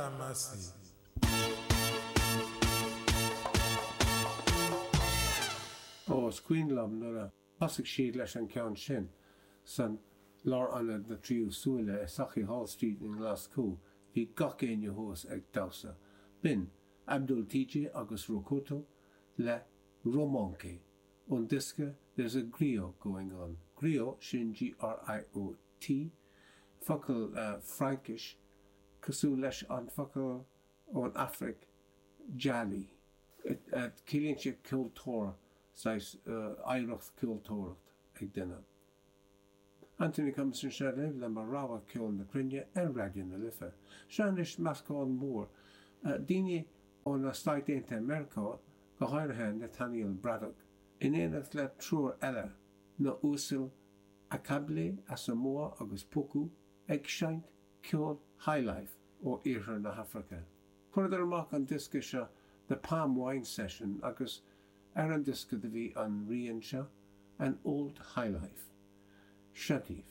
Pharmacy. Ó, is cuimhin liom nuair a thosaigh siad leis an ceann sin san Lárionad na Tríú Súile i Sauchiehall Street i nGlaschú, bhí gach éinne thuas ag damhsa. B'in Abdul TJ agus Rocoto le Romanche ón diosca There's a Griot Going On. Griot, sin G-R-I-O-T, focal Fraincis cosúil leis an focal ón Afraic jali. Ciallaíonn sé ceoltóir, saghas oidhreacht ceoltóireacht ag duine. Anthony Cummins anseo libh le mo rogha ceol na cruinne ar Raidió na Life. Seo anois meascán mór daoine ó na Stáit Aontaithe Meiriceá, go háirithe Nathaniel Braddock, in éineacht le triúr eile, na uasail Ackable, Asamoah agus Poku, ag seinnt ceol highlife ó iarthar na hAfraice. Chuireadar amach an diosca seo The Palm Wine Session agus ar an diosca do bhí an rian seo, An Old Highlife. Seo daoibh.